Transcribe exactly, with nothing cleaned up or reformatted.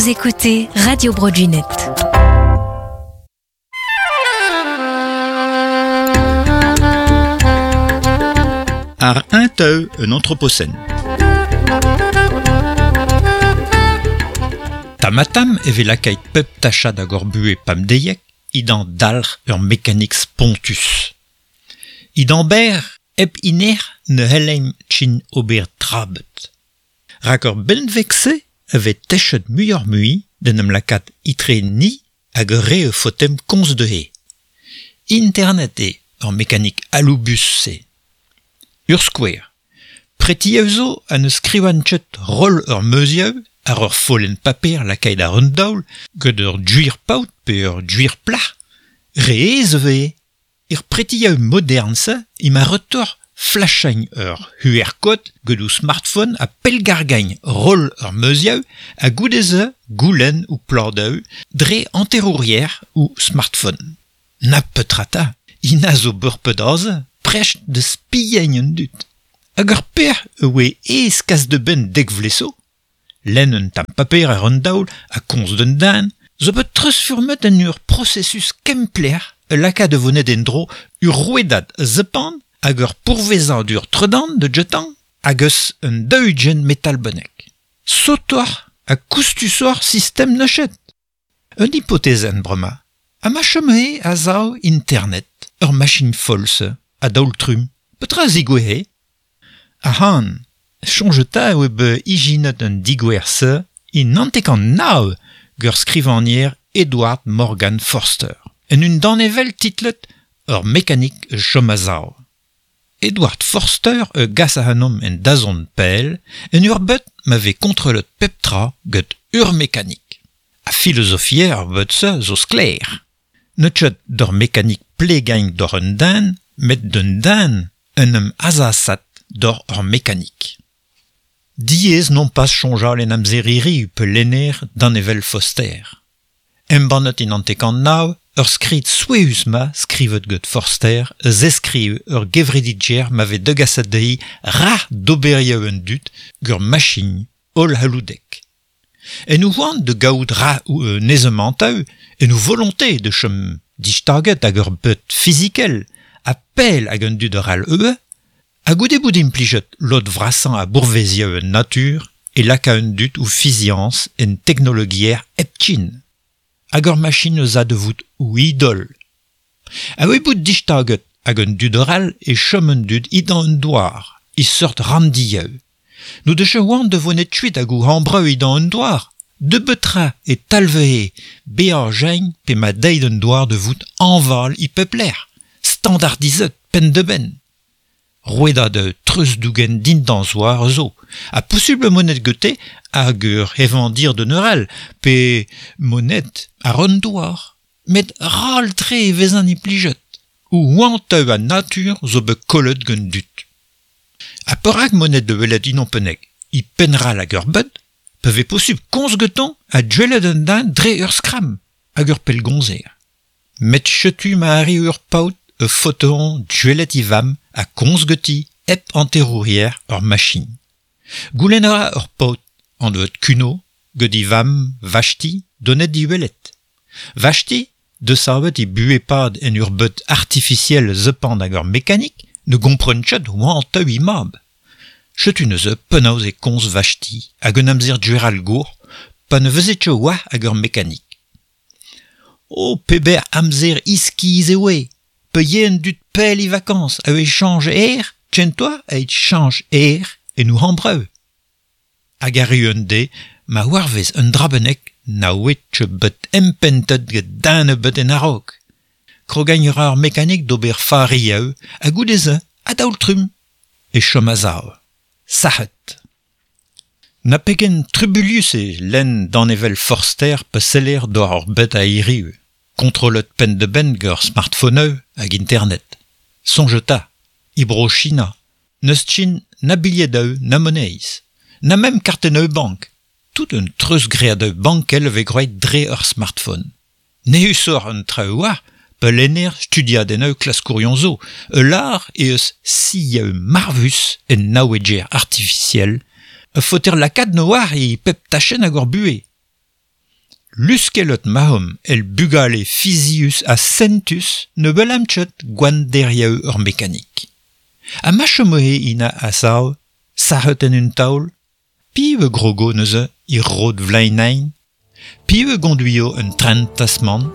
Vous écoutez Radio Bro Gwened. Ar un teu un anthropocène. Tamatam e vez lakait pep tachad hag ur buhe pamdeiek idan dalc'h ur mekanik spontus. Idan ber hep iner ne helleim tchin ober trabet. Rak ur benveg-se e vez techet muioc'h mui d'en em lakaat itre ni hag ur re e fotem komz dezhe. Internet eo ur mekanik aloubus-se. Ur skouer. Preti zo ha ne skrivan ket roll ur meuzioù ar ur follenn paper lakaet ar un daol gant ur gwir paotr pe ur gwir plac'h. Re aes e vez. Er pretioù modern-se ema retoc'h flachañ ur Q R kod gant o smartphone ha pellgargañ roll ur meuzioù ha goude-se goulenn ou pladoù dre hanterourier ou smartphone. Na petra 'ta, ina zo beurpet aze, prest da spiañ an dud. Hag ur per e oe aes kas da benn dek vloaz zo. Lenn un tamm paper ar un daol ha komz d'un den, zo bet treuzfurmet en ur processus kempler e lakaat da vonet en-dro ur rouedad zepan hag ur pourvezadur tredan de jetan hag eus un daou-ugent metal bennak. Sotoc'h ha koustusoc'h sistem neuchet. Un hypothezenn bremañ. Ha ma chomhe a sav internet, ur machine folle a daol trumm. Petra zigouezhe? Ahan, soñjeta eo bet ijinet un digouer-se in hanter-kant nav gant skrivagner Edward Morgan Forster. En un danevell titlet Ur mekanik chom a-sav. Edward Forster e gas ac'hanomp en dazont pell, en ur bed ma vez kontrollet pep tra gant ur mekanik. Ha filozofier ar bed-se zo sklaer. N'eus ket d'ur mekanik plegañ d'ur un den, met d'un den en em azasat d'ur ur mekanik. Diaes non pas soñjal en amzer hiriv pe lenner danevell Forster. Embannet in hanter-kant nav, ur skrid souezhus ma skrivet gant Forster zeskriv ur gevredigezh ma vez degaset dezhi rac'h d'oberioù an dud gant machin holl c'halloudek. En o c'hoant da gaout ra ou un aezamantoù, en o volonté de chom distaget hag ur bed fizikel ha pell hag an dud ar all eo, ha goude bout implijet lod vrasañ a bourvezioù en natur e laka un dud ou fiziañs en teknologiezh hepken. Hag ur machin eus a da vout ou idol. Ha oe bout distaget hag un dud ar all e chom un dud idan un douar, e seurt randioù. Nou deus oant da vonet kuit hag ou hambreu idan un douar. De betra e talvehe bezañ jeñ pe ma deiz un douar de vout anval i pep lec'h, standardizet penn da benn. Rouedad de treuz-dougen dindan zoar zo. Ha posubl monet gete hag ur hevandir de neural, pe monet ar un douar. Met ral tre e vez an implijet. Ou oanteu a natur zo bet kollet gant dud. Ha perak monet de welet inon pennek, i penral hag ur bed, pe vez posubl komz getan ha dwelet un den dre ur skram hag ur pellgomzer. Met chetu ma arri ur paotr e fotoan dwelet i vam ha komz geti hep hanterourier ur machin. Goulenn a ra ur paotr anvet Kuno gant i vam Vashti donet di welet. Vashti, desavet i buhe-pad en ur bed artificiel zepand hag ur mekanik, ne gompren ket oant teu i mab. Chetu neuze penaos e komz Vashti hag un amzer dueral gour, pa ne veze ket oa hag ur mekanik. O peber amzer iskiz e oe, pe yen dud pell i vacances a e change aer, tchentoa a e change aer e nou hambreu. Hag arru un de, ma warvez un drabenek na oe tche bet empentet get dan bet en a-raok. Krogañ ra ar mekanik d'ober farioù ha goude-se a daol trumm e chom a-sav. Sac'het. Na pegen trubulius e lenn danevell Forster pe seller d'ar ur bet a hiriv. Kontrollet penn da benn gant smartphone hag internet. Soñjeta, e bro China, n'eus tchin na bilhedoù na moneiz, na mem kartennoù bank. Tout un treuzgreadoù bankel vez groet dre ur smartphone. Nehusoc'h un traoù war, pe lenner studiadennoù klaskourion zo, e lar e eus sioù marvus en naoueger artificiel, e faoter lakaat no war e pep tachenn hag ur buhez. Luskelot mahom el bugale fizius ha sentus ne belamchet gwan deriaou ur mekanik. Ha ma chomohe ina a sav, sac'het en un taol, piv e grogo neuze i rod vlainain, piv e gonduio un tren tasman,